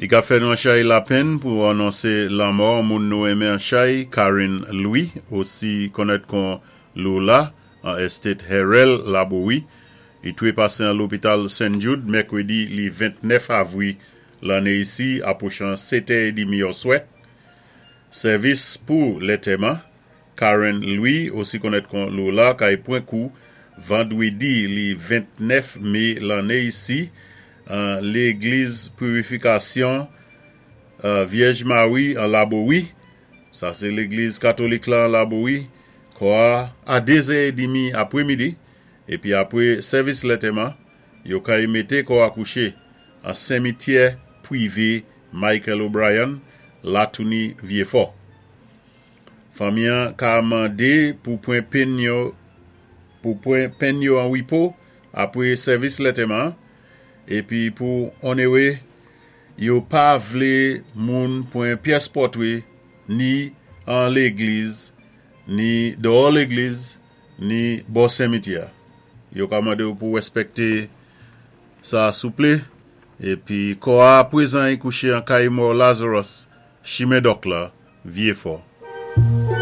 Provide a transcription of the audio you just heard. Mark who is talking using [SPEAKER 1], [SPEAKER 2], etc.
[SPEAKER 1] I ka fè nou an chay lapenn pou anonsé lanmò moun nou enmen an chay, Karen Louis, osi konnèt kon Loula, an Estate Herel, Labowi. I twé pasé an lopital St. Jude mèkwédi li 29 avwi lanné isi apwochan 7 è édmi òswè. Sèvis pou lètèman Karen Louis, osi konnèt kon Loula, kay pwan kou vandwédi li 29 mé lanné isi an légliz Purifikasyon Vyèj Mari an Labowi. Sa sé légliz katolik la an Labowi. Kò a a 2 zè édmi apwémidi, épi apwé sèvis lètèman, yo kay mété kò a kouché an senmityè pwivé Michael O'Brien, Latouni Vyéfò. Fanmi an ka mandé pou pwan penn yo pou pwan penn yo an wipo apwé sèvis lètèman an, épi pou onéré yo pa vlé moun pwan pyès pòtwé ni an légliz ni dèyò légliz ni bò senmityè a. Yo ka mandé ou pou wèspèkté sa souplé. Épi kò a pwézan i kouché an kay mò Lazarus, chimen Dòk la, Vyéfò.